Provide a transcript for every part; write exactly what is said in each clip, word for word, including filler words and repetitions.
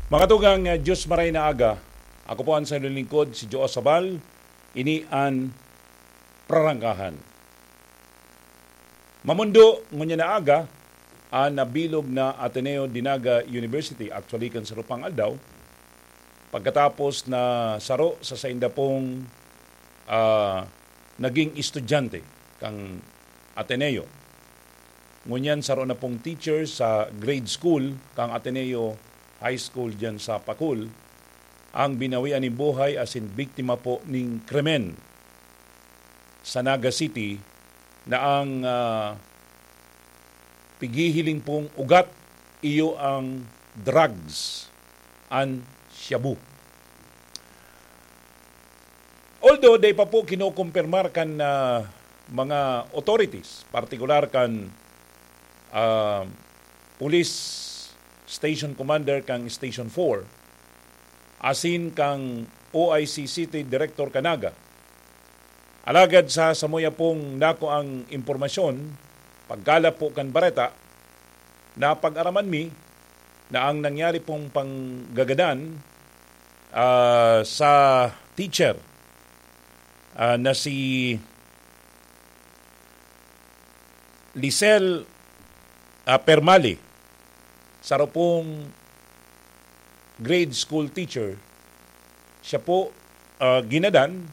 Mga tugang, uh, Diyos maray na aga. Ako po ang sa lingkod, si Joe Sabal. Ini an Prarangkahan. Mamundo, ngunyan na aga, an nabilog na Ateneo de Naga University, actually kan sarupang aldaw, pagkatapos na saro sa sainda pong, ah, naging estudyante kang Ateneo. Ngunyan saro na pong teacher sa grade school kang Ateneo High School diyan sa Pacul, ang binawian nin buhay asin biktima po ning krimen sa Naga City na ang, ah, pighihiling pong ugat iyo ang drugs, an shabu. Although, dai pa po kinokompirmar kan, ah, mga authorities, partikular kan, ah, Police Station Commander kang Station four, asin kang O I C City Director kan Naga. Alagad sa samuya pong nakuang impormasyon, pagkalap po kan bareta, napag-araman mi na ang nangyari pong panggagadan, ah, sa teacher, ah, na si Lisel, ah, Permali, saro pong grade school teacher, siya po, ah, ginadan,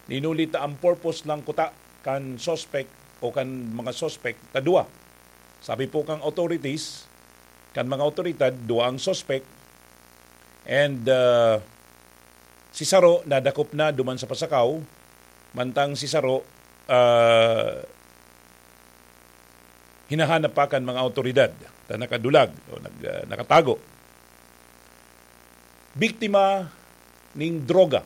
ninuli ta ang purpose lang kuta kan suspect o kan mga suspect ta duwa. Sabi po kang authorities, kan mga awtoridad, duwa ang suspect, and, ah, si saro nadakop na duman sa pasakaw, mantang si saro, ah, hinahanap pa kan mga awtoridad ta nakadulag o nag-, ah, nakatago. Biktima ning droga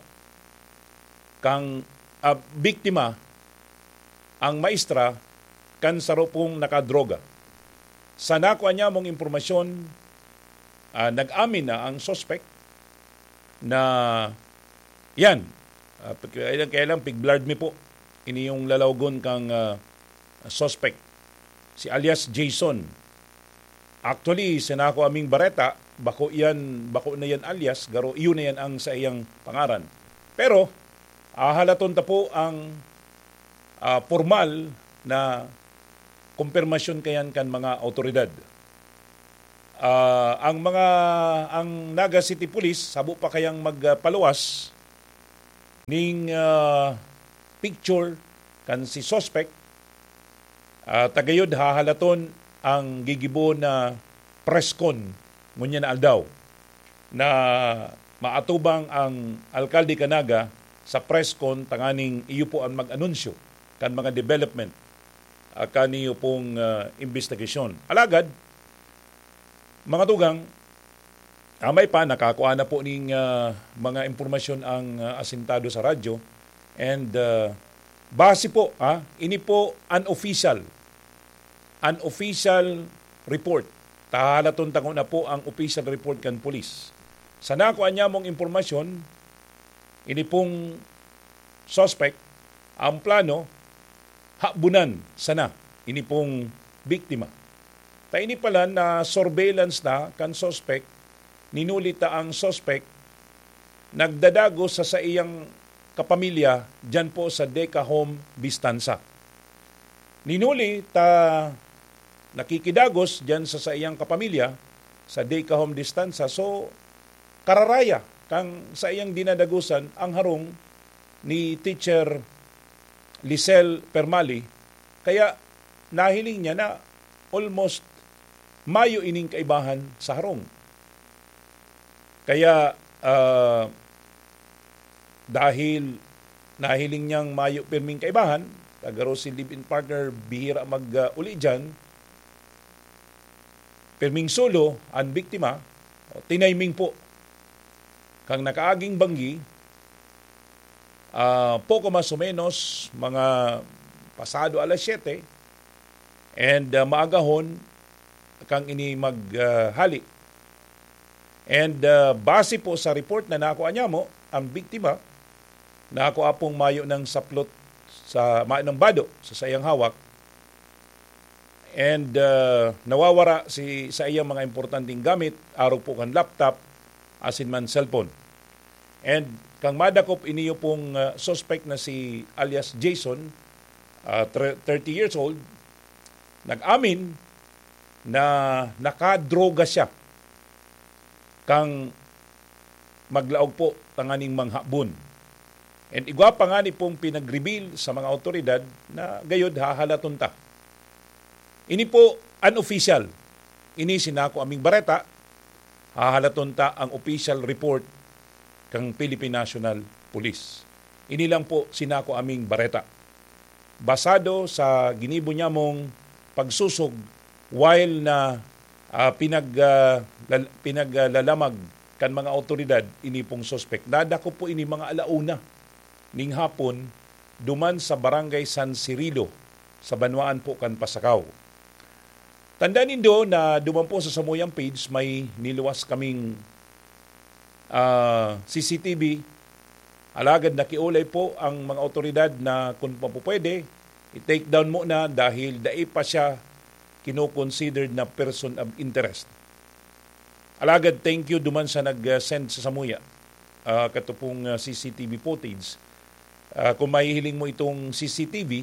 kang, ah, biktima ang maestra kan saro pong nakadroga. Sa nakua niyamong impormasyon, ah, nag-amin na ang suspect na yan, ah, pag-, kaya lang, kaya lang pig-blurred mi po. Ini yung lalawgon kang, ah, suspect, si alias Jason. Actually, sa nako aming bareta, bako yan, bako na yan alias, garo iyo na yan ang sa iyang pangaran. Pero, ahalaton ta po ang, ah, pormal na kumpirmasyon kayan kan mga awtoridad. Ah, ang mga, ang Naga City Police, sabo pa kayang magpaluwas ning, ah, picture kan si suspect, ah, ta gayod hahalaton ang gigibo na press con ngunyan na aldaw na maatubang ang alkalde kan Naga sa press con tanganing iyo po ang mag-anunsyo kan mga development, ah, kan iyo pong, ah, imbestigasyon. Alagad, mga tugang, ah, may pa, nakakua na po ning, ah, mga impormasyon ang, ah, asintado sa radyo. And, ah, base po, ah, ini po unofficial, unofficial report. Tahalaton ta nguna po ang official report kan pulis. Sa nakua niyamong impormasyon, ini pong suspect, ang plano, habunan sana ini pong biktima. Ta ini pala na surveillance na kan suspect, ninuli ta ang suspect nagdadagos sa saiyang kapamilya diyan po sa Deca Home Distanza. Ninuli ta nakikidagos diyan sa saiyang kapamilya sa Deca Home Distanza. So, kararaya kang saiyang dinadagosan ang harong ni Teacher Lisel Permali, kaya nahiling niya na almost mayo ining kaibahan sa harong. Kaya, ah, dahil nahiling niyang mayo pirming kaibahan, ta garo si live-in partner, bihira mag, ah, uli diyan, pirming solo an biktima, o, tiniming po kang nakaaging banggi, ah, poko mas o menos mga pasado alas siyete, and, ah, maagahon kang ini mag, ah, hali. And, ah, base po sa report na nakua niyamo, ang biktima, nakua pong mayo ng saplot sa, mayo ng bado sa saiyang hawak. And, ah, nawawara si, sa iyang mga importanteng gamit, arog po kan laptop, asin man cellphone. And kang madakop, iniyo pong, ah, suspect na si alias Jason, ah, tre-, thirty years old, nag-amin na nakadroga siya kang maglaog po tanganing manghabon. And igwa pa ngani pong pinag-reveal sa mga awtoridad na gayod hahalaton ta. Ini po unofficial. Ini sinako aming bareta, hahalaton ta ang official report kang Philippine National Police. Ini lang po sinako aming bareta. Basado sa ginibo nyamong pagsosog while na, ah, pinag, ah, lal-, pinaglalamag kan mga awtoridad ini pong suspek. Nadakop po ini mga ala una ning hapon duman sa Barangay San Cirilo, sa banwaan po kan Pasacao. Tandaan nindo na duman po sa samuyang page, may niluwas kaming, ah, C C T V. Alagad nakiolay po ang mga awtoridad na kung mapupwede, i-take down muna dahil dai pa siya kinoconsidered na person of interest. Alagad thank you duman sa nag-send sa samuya, ah, kato pong, ah, C C T V footage. Ah, kung mahihiling mo itong C C T V,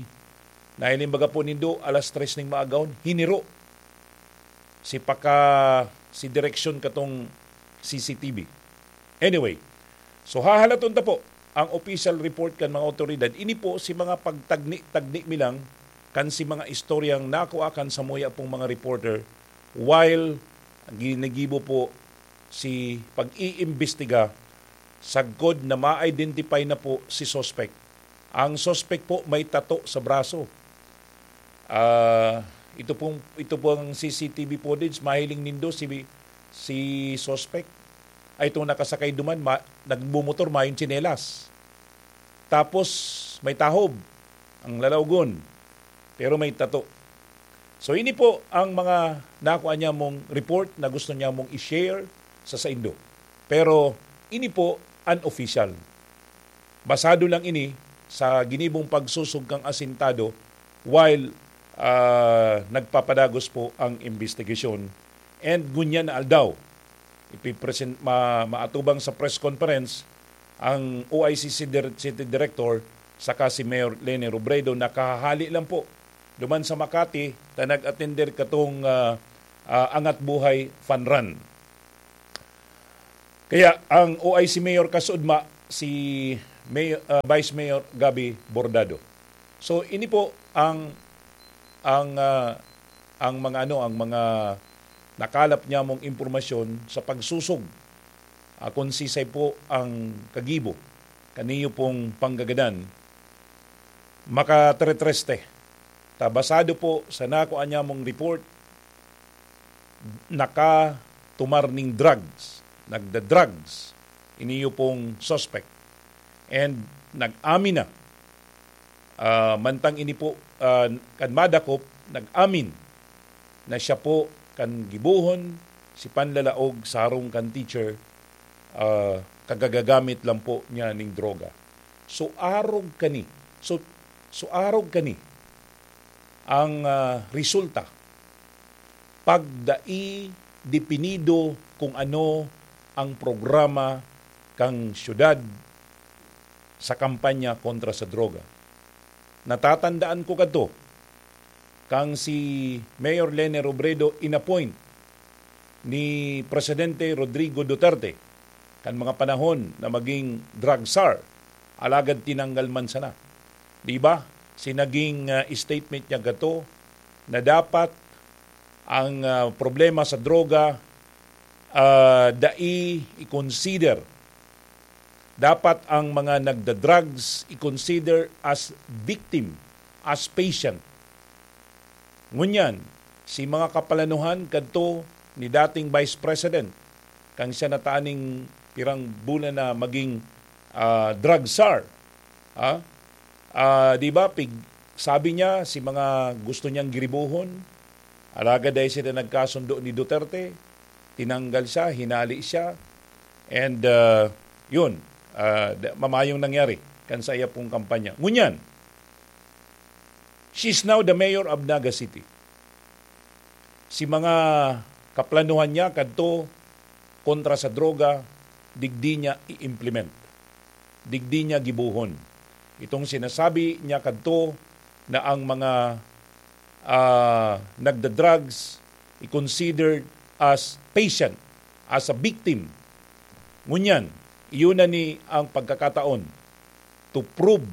nahiling baga po nindo, alas tres ning maagahon, hiniro si paka-, si direksyon katong C C T V. Anyway, so hahalaton ta po ang official report kan mga awtoridad. Ini po si mga pagtagni-tagni mi lang kan si mga istoryang nakua kan samuya pong mga reporter while ginigibo po si pag-iimbestiga sagkod na ma-identify na po si suspect. Ang suspect po may tato sa braso. Ah, ito pong, ito pong C C T V footage, mahiling nindo si, si suspect. Ay, itong nakasakay duman, ma-, nagmumotor, mayong tsinelas. Tapos, may tahob, ang lalaugon. Pero may tato. So, ini po ang mga nakuha niya mong report na gusto niya mong i-share sa saindo. Pero, ini po unofficial. Basado lang ini sa ginibong pagsusog kang asintado while, ah, nagpapadagos po ang investigasyon. And ngunyan na aldaw, ipipresent-, ma-, maatubang sa press conference ang O I C C dir-, City Director saka si Mayor Leni Robredo na kahahali lang po duman sa Makati na nag-atender katong, ah, ah, Angat Buhay Fun Run. Kaya ang O I C Mayor kasuodma, si Mayor, ah, Vice Mayor Gabby Bordado. So, ini po ang, ang, ah, ang mga ano, ang mga nakalap niya mong impormasyon sa pagsusog, ah, kung sisay po ang kagibo kaniyo pong panggagadan, makateretreste. Ta basado po sa nakuha niya mong report, nakatumar ning drugs, nagda-drugs, iniyo pong suspect. And nag-amin na. Ah, mantang ini po, ah, kan madakop, nag-amin na siya po kan gibohon si panlalaog sa harong kan teacher, ah, kagagagamit lang po niya ning droga. So, arog kani. So, so arog kani ang, ah, resulta pag dai depinido kung ano ang programa kan syudad sa kampanya kontra sa droga. Natatandaan ko kadto, kang si Mayor Leni Robredo inappoint ni Presidente Rodrigo Duterte kan mga panahon na maging drug czar, alagad tinanggal man sana. Di ba? Si naging, ah, statement niya gato na dapat ang, ah, problema sa droga, ah, dai i-consider. Dapat ang mga nagda-drugs i-consider as victim, as patient. Ngunyan, si mga kaplanuhan kadto ni dating Vice President, kang siya nataning pirang bulan na maging, ah, drug czar. Ah, ah, di ba, pig-, sabi niya, si mga gusto niyang giribohon, alagad dahil sila nagkasundo ni Duterte, tinanggal siya, hinali siya, and, ah, yun, ah, da-, mamayong nangyari kan sa iya pong kampanya. Ngunyan, she's now the mayor of Naga City. Si mga kaplanuhan niya kadto kontra sa droga, digdi niya i-implement, digdi niya gibohon. Itong sinasabi niya kadto na ang mga, ah, nagda-drugs i-considered as patient, as a victim. Ngunyan, iyon na ni ang pagkakataon to prove,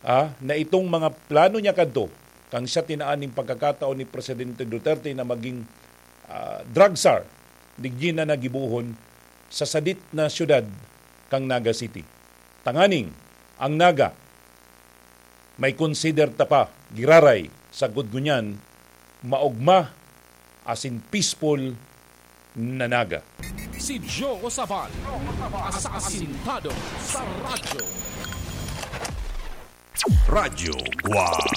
ah, na itong mga plano niya kadto, kang siya tinaan ning pagkakataon ni Presidente Duterte na maging, ah, drug czar, digdi na niya gibohon sa sadit na syudad kang Naga City. Tanganing, ang Naga, may consider ta pa, giraray, sagkod ngunyan, maogma, asin peaceful na Naga. Si Joe Sabal, asasintado sa radyo. Radyo Guwang.